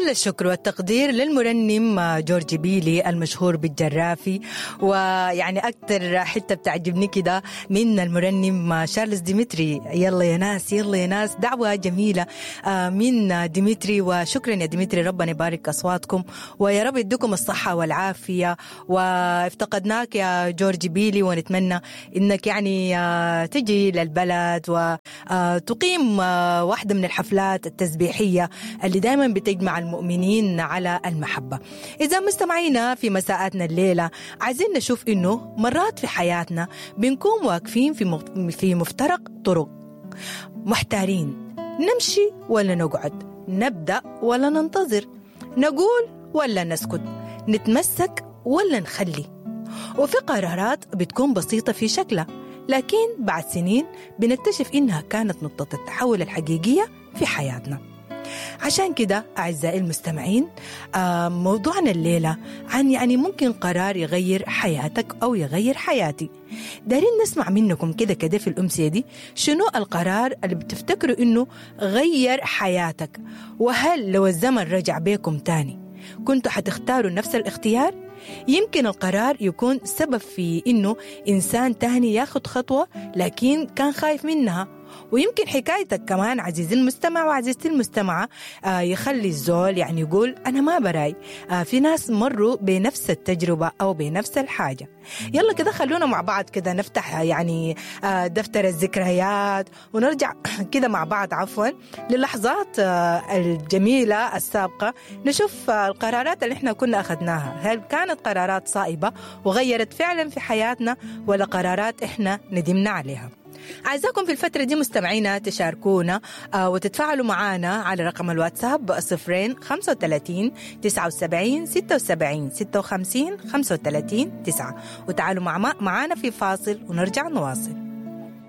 كل الشكر والتقدير للمرنم جورج بيلي المشهور بالجرافي. ويعني أكتر حتة بتعجبني كده من المرنم شارلز ديمتري، يلا يا ناس يلا يا ناس، دعوة جميلة من ديمتري. وشكرا يا ديمتري، ربنا يبارك أصواتكم ويا رب يديكم الصحة والعافية. وافتقدناك يا جورج بيلي، ونتمنى إنك يعني تجي للبلد وتقيم واحدة من الحفلات التسبيحية اللي دايما بتجمع المؤمنين على المحبة. إذا مستمعينا في مساءاتنا الليلة عايزين نشوف إنه مرات في حياتنا بنكون واقفين في مفترق طرق، محتارين نمشي ولا نقعد، نبدأ ولا ننتظر، نقول ولا نسكت، نتمسك ولا نخلي. وفي قرارات بتكون بسيطة في شكلها، لكن بعد سنين بنكتشف إنها كانت نقطة التحول الحقيقية في حياتنا. عشان كده أعزائي المستمعين، موضوعنا الليلة عن يعني ممكن قرار يغير حياتك أو يغير حياتي. دارين نسمع منكم كده كده في الأمسية دي، شنو القرار اللي بتفتكروا إنه غير حياتك؟ وهل لو الزمن رجع بيكم تاني كنتوا حتختاروا نفس الاختيار؟ يمكن القرار يكون سبب في إنه إنسان تاني ياخد خطوة لكن كان خايف منها. ويمكن حكايتك كمان عزيزي المستمع وعزيزتي المستمعة يخلي الزول يعني يقول أنا ما براي، في ناس مروا بنفس التجربة أو بنفس الحاجة. يلا كده خلونا مع بعض كده نفتح يعني دفتر الذكريات ونرجع كده مع بعض عفوا للحظات الجميلة السابقة، نشوف القرارات اللي احنا كنا أخذناها، هل كانت قرارات صائبة وغيرت فعلا في حياتنا ولا قرارات احنا ندمنا عليها؟ عايزاكم في الفترة دي مستمعينا تشاركونا وتتفاعلوا معنا على رقم الواتساب 0 35 79 76 56 35 9، وتعالوا معنا في فاصل ونرجع نواصل.